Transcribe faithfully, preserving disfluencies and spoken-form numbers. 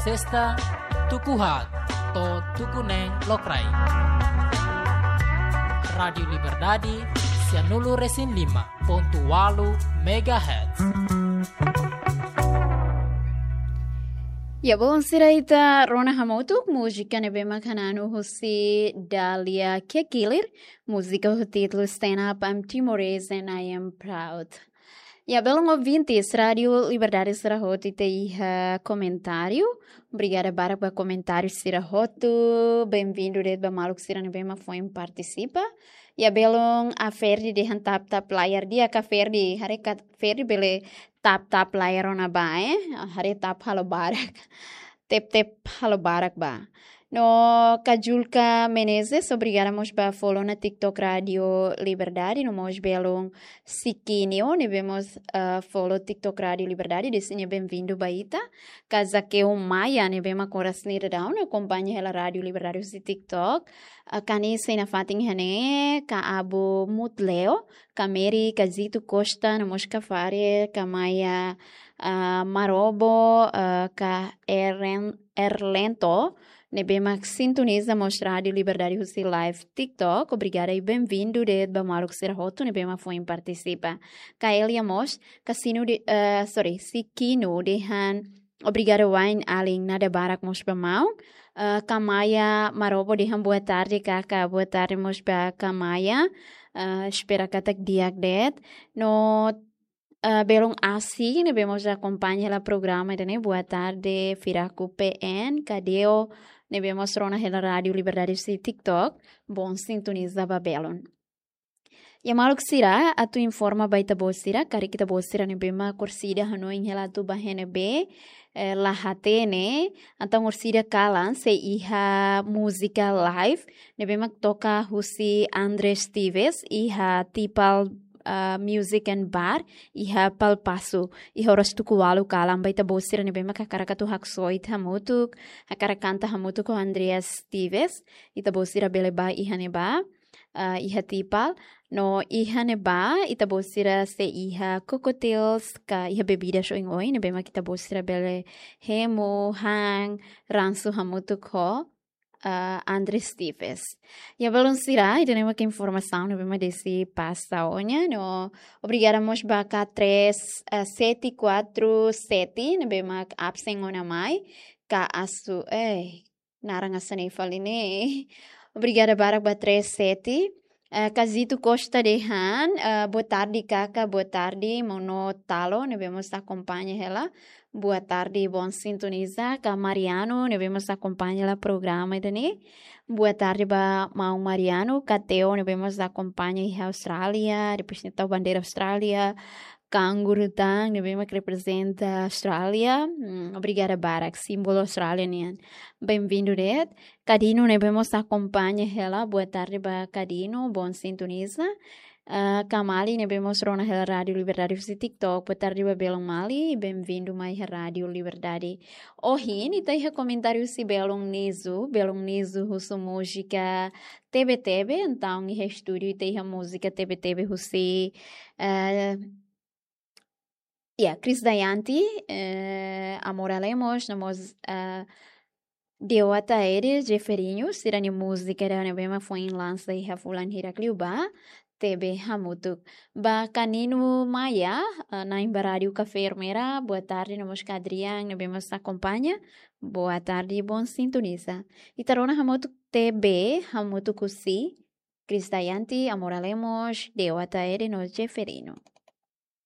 Sesta, tuku haat to'o tuku neen lokraik. Rádiu Liberdade, sianulu-resin-lima pontu ualu megahertz. Ya, belun sira, ita rona hamutuk múzika ne'ebé mak hananu husi Dalia Kekilir, múzika ho títulu Stand Up, I'm Timorese and I Am Proud. Ya, belun ouvintes Rádiu Liberdade sira hotu, ita iha komentáriu. Obrigada barak ba komentáriu sira hotu. Benvindu de'it ba maluk sira ne'ebé mak foin partisipa. Ya, belun Aferdi dehan tap-tap layar, di'ak Aferdi, haree ka Ferdi bele tap-tap layar ona ba, eh? Haree tap halo barak. Tep-tep halo barak ba. No Kajulka Menezes, obrigada mós ba follow ona TikTok Rádiu Liberdade, no mós belun Sikinio, ne'ebé mós, ah, follow TikTok Rádiu Liberdade, dehan nia benvindu ba ita. Ka Zakeu Maia, ne'ebé mak oras ne'e daudaun akompaña hela Rádiu Liberdade husi TikTok. Ah, Kani sei nafatin iha ne'e, ka Abu Mutleo, ka Mary, ka Zito Costa, no mós ka Fare, ka Maia, ah, Marobo, ah, ka Eren-, Erlento, ne'ebé mak sintoniza mós Rádiu Liberdade husi live TikTok. Obrigada i benvindu de'it ba maluk sira hotu ne'ebé mak foin partisipa. Ka Elia mós, ka Sinu de, eh, sorry, Sikino dehan obrigada wa'in alin, nada barak mós ba maun. Eh, ka Maia Marobo dehan boa tarde, kaka, boa tarde mós ba ka Maia. Eh, espera katak di'ak de'it. No ah, belun Asi, ne'ebé mós akompaña hela programa ida-ne'e, boa tarde, Firaku P N, ka Deo, ne'ebé mós rona hela Rádiu Liberdade husi TikTok, bom sintoniza ba belun. Ya maluk sira, atu informa ba ita-boot sira, karik ita-boot sira ne'ebé mak orsida hanoin hela atu bá iha ne'ebé, eh, la hatene, entaun orsida kalan sei iha múzika live, ne'ebé mak toka husi Andres Tives, iha Tipal, ah, Music and Bar, iha Palpasu, iha oras tuku ualu kalan. Ba ita-boot sira ne'ebé mak hakarak atu haksoit hamutuk, hakarak kanta hamutuk ho Andreas Tives, ita-boot sira bele bá iha ne'ebá, ah, iha Tipal. No iha ne'ebá, ita-boot sira sei iha cocktails, ka iha bebidas oin-oin, ne'ebé mak ita-boot sira bele hemu, han, ransu hamutuk ho, ah, Andres Tives. Ya belun sira, ida-ne'e mak informasaun ne'ebé mak desi pasa ona, no obrigada mós ba ka três, eh, sete quatro sete, ne'ebé mak absen ona mai, ka Asu, eh, naran hanesan ne'e fali ne'e. Obrigada barak ba três sete. Eh, ka Zito Costa dehan, eh, boa tarde, kaka, boa tarde, maun Talo, ne'ebé mós akompaña hela. Boa tarde, bom sintoniza, ka Mariano, ne'ebé mós akompaña hela programa ida-ne'e. Boa tarde ba maun Mariano, ka Teo, ne'ebé mós akompaña iha Austrália, depois ne'e tau bandeira Austrália, kanguru tan, ne'ebé mak reprezenta Austrália. Hmm, obrigada barak, símbolu Austrália nian. Benvindu de'it. Ka Dino, ne'ebé mós akompaña hela, boa tarde ba ka Dino, bom sintoniza. Ah, ka Mali, ne'ebé mós rona hela Rádiu Liberdade husi TikTok, boa tarde ba belun Mali, benvindu mai iha Rádiu Liberdade. Ohin, ita iha komentáriu husi belun Nizu, belun Nizu husu múzika Tebe Tebe, entaun iha estúdiu ita iha múzika Tebe Tebe husi, eh, ya, Chris Dayanti, eh, Amora Lemos, no mós, eh, Dewata Ede, Jeferinho, sira-nia múzika ida ne'ebé mak foin lansa iha fulan hirak liubá, Tebe Hamutuk. Ba ka Nino Maia, eh, na'in ba Rádiu Kafé Ermera, boa tarde, no mós ka Adrian, ne'ebé mós akompaña, boa tarde, bom sintoniza. Ita rona hamutuk Tebe Hamutuk husi Chris Dayanti, Amora Lemos, Dewata Ede no Jefferino.